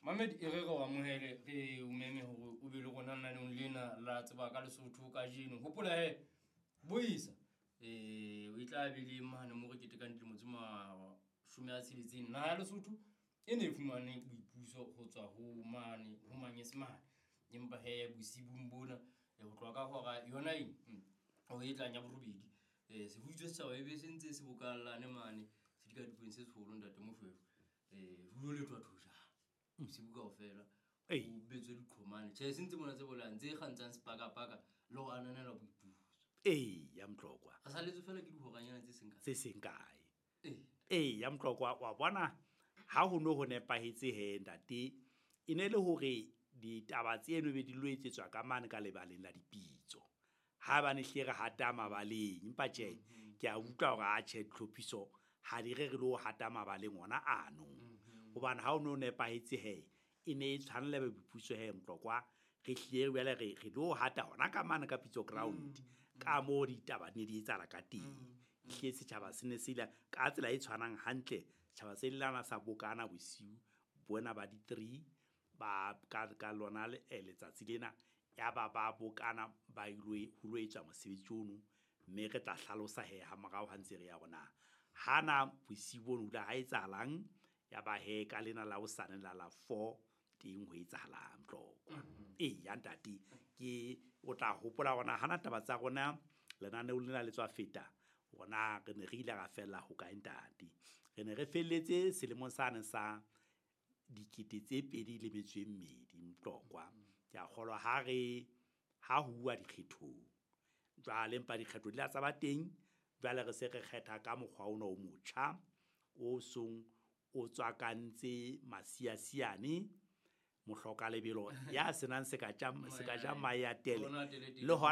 Mamed e re re o amohele re o meme hore o be le rona lenaneong lena la tseba ka Lesotho kajeno. Hopola he boisa o e tla be le mane mo re ketekang dilemo tse 60. Naha ya Lesotho e ne e fumane boipuso ho tswa ho mane ho Manyesemane. Empa he bosibung bona ho tloha ka hora yona eng o e tlang ya borobedi se hutswe setjhaba e be se ntse se bokallane mane sedikadikong se seholo ntate Moshweshwe. Ho lo lethwa thojana bosibu kaofela. Ei. O betswe diqhomane. Tjhe, se ntse mona tse bolayang tse kgantshang sepakapaka le ho ananela boipuso. Ee, ya Motlokwa. Re saletswe fela ke dihoranyana tse seng kae. Tse seng kae. Ee. Ee, ya Motlokwa, wa bona ha ho no ho nepahetse he ntate, e ne le hore ditaba tseno be di lo etsetswa ka mane ka lebaleng la dipitso. Ha ba ne hlile re hata mabaleng, empa tjhe, ke a utlwa hore a tjhe ditlhophiso ha di re re lo hata mabaleng ona ano. Hobane ha o no nepahetse he, e ne e tshwanela boipuso he Motlokwa, re hlile jwale re lo hata hona ka mane ka pitso ground. Ka moo ditaba ne di etsahala ka teng. Ehlile setjhaba se ne se ile ka tsela e tshwanang hantle, setjhaba se lana sa bokana bosiu bona ba di-3 ba ka lona letsatsi lena ya ba ba bokana ba ilo ho lo etswa mosebetsi ono, mme re tla hlalosa he ha morao ha ntse re ya rona. Hana bosiu bono ho ile ha etsahalang, ya ba he ka lena la hosane la la 4 teng ho etsahalang Motlokwa. Ee, ya ntate, ke o tla hopola hore hana taba tsa rona lenaneo lena le tswa feta, rona re ne re ile ra fella ho kae ntate. Re ne re felletse selemong sane sa 2002 Motlokwa. Ke a kgolwa ha re ha ho uwa dikgethong. Jwale empa dikgetho di la tsa ba teng, jwale re se re kgetha ka mokgwa ona o motjha o song o tswakantse masiasiane, mohloka lebelo ya senang seka ja mahe a tele Ona tele le hona.